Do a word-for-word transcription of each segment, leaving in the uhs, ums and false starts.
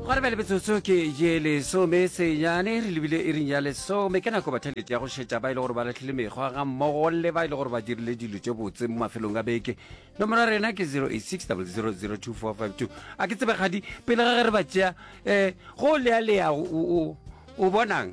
Gare bjale metsotso ke ye lesome senyane, re lebile iring ya lesome. Ke nako batheletši ya go šetša ba e le gore ba lahlile mekgwa ga mmogo le ba e le gore ba dirile dilo tše botse mo mafelong a beke. Nomoro ya rena ke zero eight six double zero zero two four five two. A ke tsebe kgadi pele ga ge re ba tšea, um go lealea o, o, o bonang?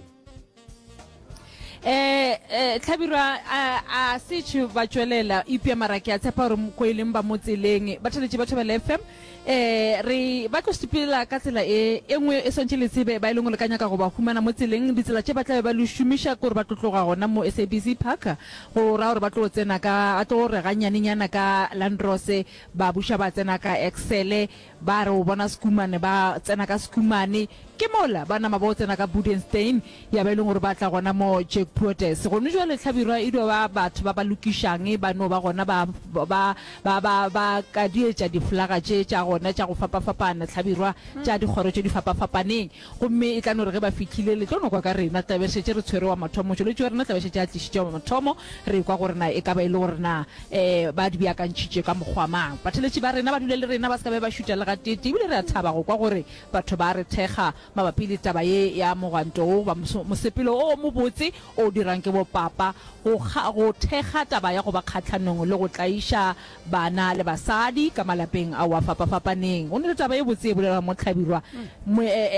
Eh, eh, Hlabirwa a, a setšhe ba tšwelela, eupša mara ke a tshepa gore ko e leng ba mo tseleng. Ba theletše ba Thobela F M. Eh, re ba tlo sepela ka tsela e, e nngwe e swantše le tsebe, ba e leng gore le ka nyaka go ba humana mo tseleng. Ditsela tše ba tla be ba le šomiša ke gore ba tlo tloga gona mo S A B C Park, go ra gore ba tlo tsena ka, ba tlo re ganyanenyana ka Landrose, ba buša ba tsena ka Excel, ba re o bona Schoeman, ba tsena ka Schoeman. Ke mola ba nama ba o tsena ka Budenstein, ya ba e leng gore ba tla gona mo Jack Poortes. Gone jwale Hlabirwa e dio ba batho ba ba lokišang, ba no ba gona ba, ba, ba, ba, ba kadietša diflaga tše tša gona tša go fapafapana, Hlabirwa, tša dikgoro tše di fapafapaneng. Gomme e tla no re ge ba fihlile, le tlo no kwa ka rena, tla be šetše re tshwere wa mathomo, motšweletši wa rena tla be šetše a tlišitše wa mathomo, re kwa gore na e ka ba e le gore na, eh, ba di beakantšhitše ka mokgwa mang. Batheletši ba rena ba dule le rena, ba se ka be ba šuta le gateetee, ebile re a thaba go kwa gore batho ba re thekga mabapi le taba ye ya mogwanto wo goba mosepelo o o mobotse o dirang ke bopapa go, go thekga taba ya go ba kgahlanong le go tlaiša bana le basadi ka malapeng ao a fapafapaneng. Go na le taba ye botse e bolelwago mo Hlabirwa,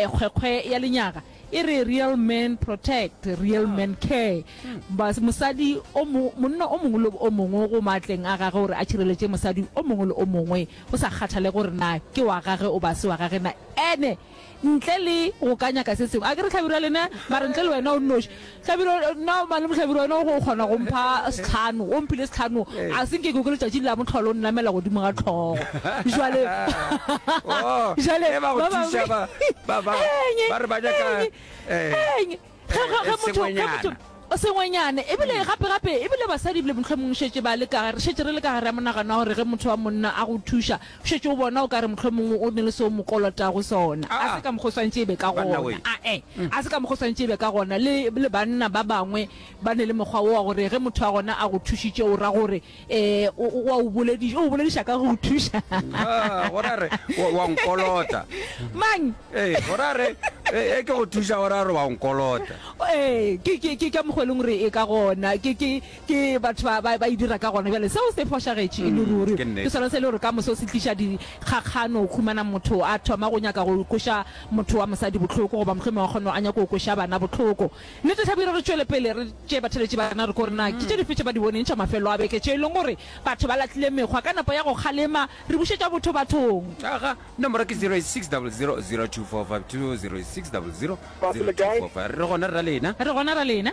kgwekgwe ya lenyaga e re real men protect, real men care. Mosadi o mo, monna o mongwe le o mongwe go maatleng a gagwe gore a tšhireletše mosadi o mongwe le o mongwe, go sa kgathale gore na ke wa gage o ba se wa gage na. Ene ntle le go ka nyaka se sengwe, a ke re Hlabirwa lena, mara ntle le wena o nnoši. Hlabirwa, nna malome Hlabirwa wena o kgona go mpha sehlano, o mphile sehlano, a se nke ke kwe letšatši la mohlolo o nnamela godimo ga hlogo. Jwale, jwale ba go thuša ba, ba, ba, ba re ba nyaka, eh, ge, ge, ge motho, ge motho, sengwenyana, ebile gape, gape, ebile basadi ebile mohlomong šetše ba le ka, re šetše re le ka gare ya monagano wa gore ge motho wa monna a go thuša, šetše o bona o ka re mohlomongwe o ne le seo mo kolotago sona. A se ka mokgwa o swantše e be ka gona. Ae, a se ka mokgwa o swantše e be ka gona. Le, le banna ba bangwe ba ne le mokgwa wo wa gore ge motho wa gona a go thušitše, o ra gore, eh, o, o a o bolediša, o bolediša ka go o thuša. Gore a re, wa nkolota. Mang? Ee, gore a re, e ke go thuša, gore a re wa nkolota. Ee, ke, ke, ke ka mokgwa e leng gore e ka gona. Ke, ke, ke batho ba, ba, ba e dira ka gona. Bjale seo se fošagetše e le ruri. Ke sona se e le gore ka moso se tliša dikgakgano, o humana motho a thoma go nyaka go kweša motho wa mosadi bohloko, goba mohlomongwe wa kgona a nyaka go kweša bana bohloko. Nnete Hlabirwa, re tšwele pele re tšee batheeletši ba rena re kwe gore na ke tše dife tše ba di boneng tša mafelo a beke tše e leng gore batho ba lahlile mekgwa ka nepo ya go kgalema, re bušetša botho bathong. Aga, nomoro ke zero eight six double zero zero two four five two, zero eight six double zero zero two four five. Re gona ra lena. Re gona ra lena.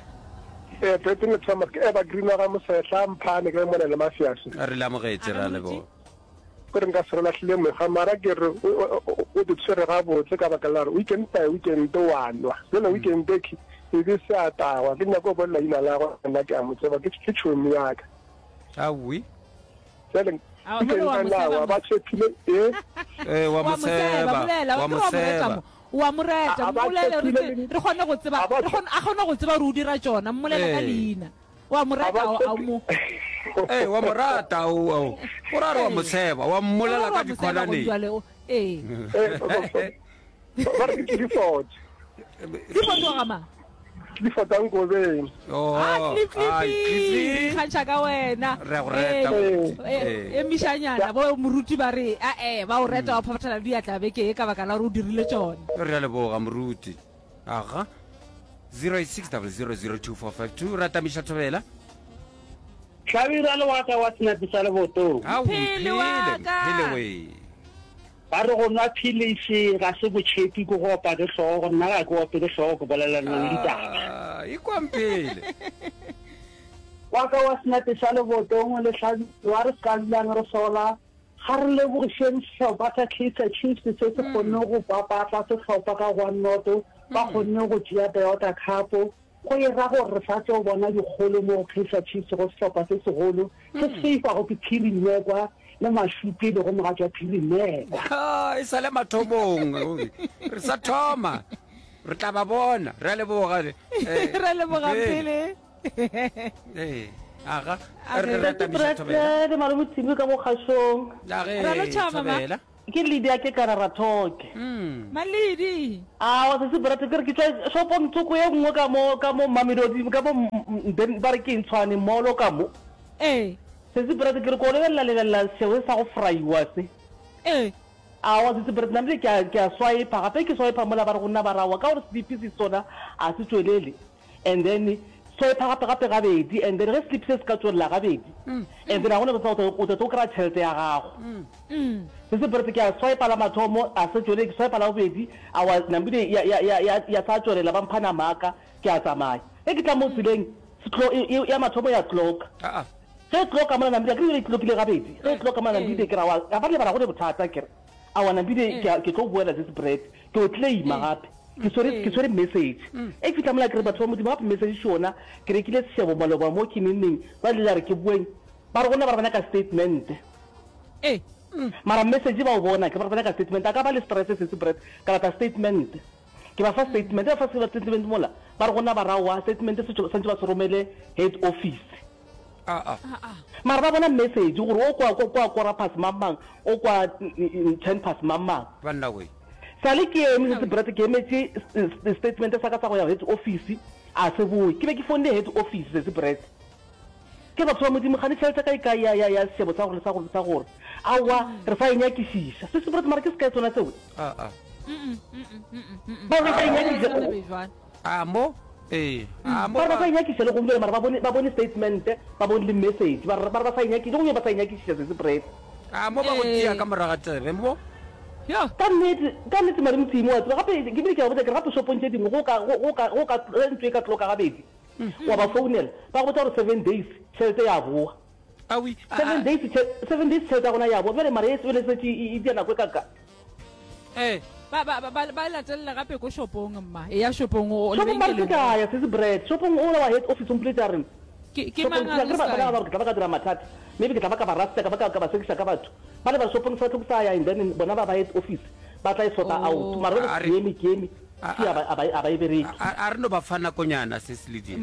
Ee, Brandon le Thomas, ke Evergreen wa ga Mosehla, Mphane, ke le mona le Mafiase. Re le amogetše, ra leboga. Ke re nka se re lahlile mekgwa, mara ke re o di tshwere gabotse ka baka la gore weekend by weekend wa nwa. Jwale weekend e ke e be se a tagwa, ke nyaka go bolela leina la gagwe, nna ke a mo tseba, ke ke tšhomi ya ka. Aowi. Jwale weekend a na ba tshepile e. Ee, wa mo tseba, wa mo tseba. O a mo reta, mmolele re re kgone go tseba, re kgone a kgone go tseba gore o dira tšona, mmolele ka leina. O a mo reta, a mo. Ee, wa mo rata, o o o ra re wa mo tsheba, wa mmolela ka dikhonaneng. Ee. Ba re ke Clifford. Clifford wa ga mang? Clifford a Nkobeng. Oh, ah, Cliff, Cliff, ikgantšha ka wena. Re a go reta. Eh, emišanyana bo moruti ba re a eh ba o reta wa phaphathela diatla beke e ka baka la gore o dirile tšona. Re a leboga moruti. Aga. zero eight six double zero zero two four five two ra tamiša thobela. Hlabirwa le waka wa senapi sa lebotong. Ao, Mphele wa ka. Mphele we. Ba re go nwa philisi ga se botšhepi, ke go opa ke hlogo. Nna ga ke ope ke hlogo, ke bolela le lona ditaba. Ah, ikwa Mphele. Wa ka wa senapi sa lebotong le Hlabirwa, re se ka dulang re sola. Ga re lebogišeng sehlopha sa Kaizer Chiefs se se kgonnego go papatla sehlopha ka one noto, ba kgonne go tšea Toyota Cup. Go e ra gore re sa tlo bona dikgolo mo go Kaizer Chiefs go sehlopha se segolo se se seifwago ke Phiri Mmekwa le Mašupi e lego mogatša Phiri Mmekwa. Ha, e sa le mathomong, re sa thoma, re tla ba bona. Re a leboga. Re a leboga Mphele. Ee, aga, A re re. re tamiša thobela. Le malome Timi ka mo kgašong. A ge, Ra lotšha, mama. thobela. ke Lydia ke kana Rathoke. Malidi. Aowa sesi Brett ke re ke tšwa shopong tsoko ye nngwe ka mo ka mo Mamelodi ka mo ba re ke eng Tshwane mall ka mo. Ee. Sesi Brett ke re ko lebelela lebelela seo sa go fraiwa se. Ee. Aowa sesi Brett namile ke a ke a swiper gape ke swiper mola ba re go nna ba re aowa ka gore slip se sona a se tšwelele and then swiper gape gape gabedi and then ge slip se se ka tšwelela gabedi and then ga gona bothata o tla tlo kry-a tšhelete ya gago. Sesi Brett ke a swiper la mathomo a se tšwelele ke swiper la bobedi aowa namile ya ya ya ya ya sa tšwelela ba mpha nama ya ka ke a tsamaya. Ge ke tla mo tseleng ya mathomo ya clocka. Ge e clocka mola Namibia, akere e clockile gabedi, ge e clocka mola Namibia ke re aowa, ga ba lebala go ne bothata, ke re aowa Namibia ke a, ke tlo boela this bread, ke yo claima gape, ke swere, ke swere message. E ke fihla mola ke re batho ba Modimo gape message še yona, ke rekile sešebo maloba mo ke neng neng, bjale la re ke boeng, ba re go nna ba re ba nyaka statement. Mara message ba o bona, ke ba re ba nyaka statement, a ka ba le stress sesi bread, ka lata statement. Ke ba fa statement, ba fa statement mola, ba re go nna ba re aowa statement se swantše ba se romele head office. Aa. Mara ba bona message gore o kwa kwa kora past mang mang, o kwa ten past mang mang. Banna we. Sale ke eme setse Brett ke emetše statement sa ka sa go ya head office a se boe. Ke be ke founile head office setse Brett. Ke re batho ba Modimo kgane tšhelete ya ka e kae ya ya ya sešebo sa gore le sa gore le sa gore. Aowa re sa e nyakišiša. Setse Brett mara ke sekae sona seo? Aa. Ba re ba sa e nyakišiša. A mo Ee, a mo Ba re ba ba. sa e nyakiša le gompieno, mara ba bone, ba bone statement, ba bone le message. Ba re, ba re ba sa e nyakiša, le gompieno ba sa e nyakišiša sesi Brett. A mo ba go tia ka morago ga tsebe mo. Yo. Ka nnete, ka nnete Mari Motshimo, wa tseba, gape ke bile ke a ba botša ke re gape shopong tše dingwe go ka, go, go ka, go ka, ge ntlo e ka tloka gabedi, wa ba founela, ba go botša gore seven days tšhelete ya boa. Awi, a, Seven a. days, tšhe, seven days tšhelete ya gona ya boa. Bjale mara ye bjale e šetše e, e tšea nako e kaka. Ee. Ba, ba, ba, ba latelela gape ko shopong, mma. Eya shopong, o, o Shopong ba re lebenkeleng. se ka ya, Sesi Brett. Shopong ola wa head office o mpoletše a re, Ke, ke Shopong, mang ke a tla, re ke re ba, ba se nagana gore ke tla ba ka dira mathata. Maybe ke tla ba ka ba rasta, ka ba ka, ka ba sekiša ka batho. Ba le ba re shopong sa tlo ke sa ya and then bona ba ba head office ba tla e sorta out. Oh. Mara A jwale re, ke eme, ke eme, a, see a ba, a ba, a ba e bereke. a, a re no ba fa nakonyana, Sesi Lydia.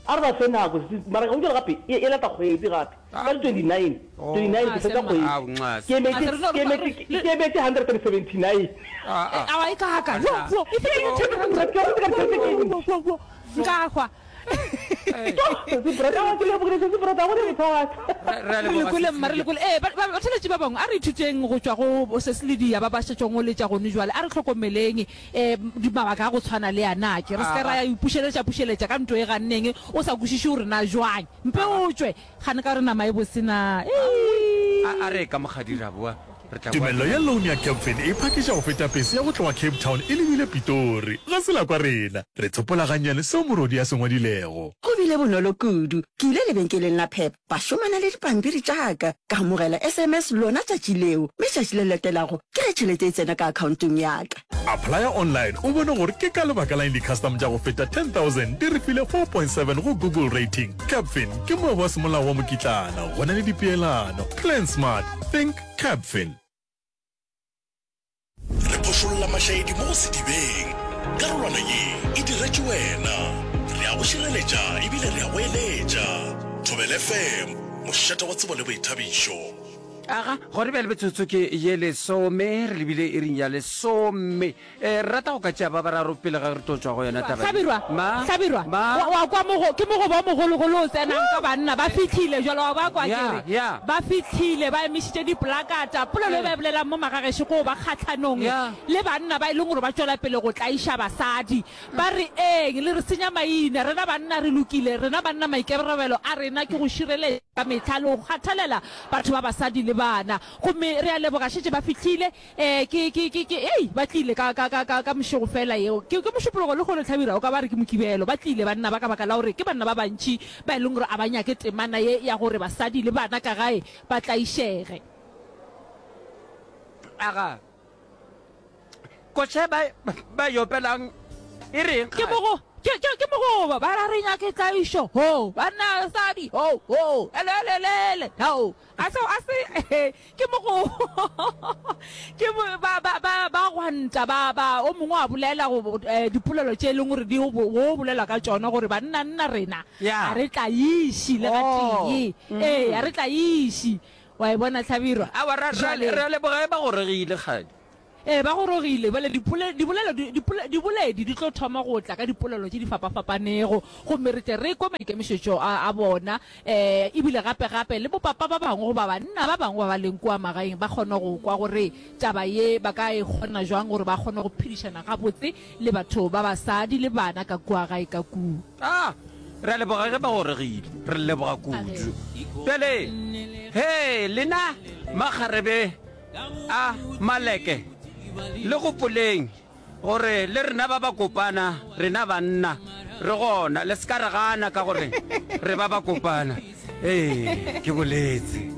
A re ba fe nako sesi, mara gong bjale gape e, e lata kgwedi gape. Ka di twenty nine, twenty nine ke fetša kgwedi. Ao, nxase. Ke emetše, A se re no ke emetše, re- ke emetše hundred and seventy nine. Ah, ah. Awa e kaka. Wo, wo, e fetile Oh. ten rand. Ke go ka tšhelete ke Wo, wo, wo. Nka hwa. Sesi Brett, aowa ke lebogile sesi Brett, ga go ne bothata. Re, re a Re leboga, lekole Sesi mma, re Lydia. lekole. Ee, ba, ba, batheeletši ba bangwe, a re ithuteng go tšwa go Sesi Lydia ba ba šetšego go letša gone jwale. A re hlokomeleng um di mabaka a go tshwana le a na ke. Re se ke ra ya ipušeletša-pušeletša ka nto e ganneng, o sa kwešiše gore na jwang. Mpe o tšwe, gane ka gore nama e bose na. Eii. A, a re ka mokgadi ra boa, re tla boa Tumello ya bjang. loan ya Capfin e phakiša go feta pese ya go tloga Cape Town e lebile Pitori. Ga se la kwa rena. Re tsopola gannyane seo morodi a se ngwadilego. Go bile bonolo kudu. Ke ile lebenkeleng la Pep, ba šomana le dipampiri tša ka, ka amogela S M S lona tšatši leo, mme tšatši le latelago ke ge tšhelete e tsena ka akhaontong ya ka. Applya online o bone gore ke ka lebaka la eng di-custom tša go feta ten thousand di re file four point seven go Google rating. Capfin ke moabi wa semolao wa mokitlana, go na le dipeelano. Plan smart, think Capfin. Re phošolla mašaedi mo go sedibeng. Karolwana ye e diretšwe wena. Re a go šireletša ebile re a go eletša. Thobela F M, mošate wa tsebo le boithabišo. Aga, gona bjale metsotso ke ye lesome, re lebile iring ya lesome. Eh, re rata go ka tšea ba bararo pele ga re tlo tšwa go yona taba ye. Hlabirwa, Ma, Hlabirwa, ma. wa, wa kwa mogo, ke mogoba o mogologolo o tsenang ka banna, ba fihlile jwale, wa ba kwa ke Ya, re, ya. ba fihlile, ba emišitše dipolakata, polelo e ba e bolelang mo magagešo ke go ba kgahlanong Ya. le banna ba e leng gore ba tšwela pele go tlaiša basadi. Ba re, Eng, le re senya maina, rena banna re lokile, rena banna maikarabelo a rena ke go šireletša ka mehla le go kgathalela batho ba basadi le bana. Gomme re a leboga, šetše ba fihlile, eh, ke, ke, ke, ke, ei, ba tlile ka, ka, ka, ka, ka mošego fela yeo. Ke, ke Mošupologo lehono, Hlabirwa, o ka ba re ke Mokibelo. Ba tlile banna ba ka baka la gore ke banna ba bantši ba e leng gore a ba nyake temana ye ya gore basadi le bana ka gae ba tlaišege. Aga, koša ba, ba e opelang e reng Ke kgale? mogo, ke, ke, ke mogoba, ba ra re nyake tlaišo, ho, banna, basadi, ho, ho, ele, ele, ele, ele, ho. A se, a se, ke mogo, ke mo, ba, ba, ba, ba gwanta, ba, ba, o mongwe a bolela go, eh, dipolelo tše e leng gore di go, go bolelwa ka tšona gore banna nna rena, Ya. a re tlaiši le Oh, gatee. Ee, a re tlaiši. Wa e bona Hlabirwa? Aowa, ra, ra, Bjale. re a leboga ge ba gorogile, kgadi. Ee, ba gorogile. Bjale dipole, dibolelo, di, dipole, diboledi di tlo thoma go tla ka dipolelo tše di fapafapanego, gomme re tle re kwe maikemišetšo a, a bona. E, ebile gape, gape le bopapa ba bangwe goba banna ba bangwe ba ba leng kua magaeng ba kgone go kwa gore taba ye ba ka e kgona jwang gore ba kgone go phedišana gabotse le batho ba basadi le bana ka kua gae ka kua. A, re a leboga ge ba gorogile. Re leboga kudu. Bjale, hee, lena makgarebe a Maleke, le gopoleng gore le rena ba bakopana, rena banna, re gona. Le se ka re gana ka gore re ba bakopana. Ee, ke boletse.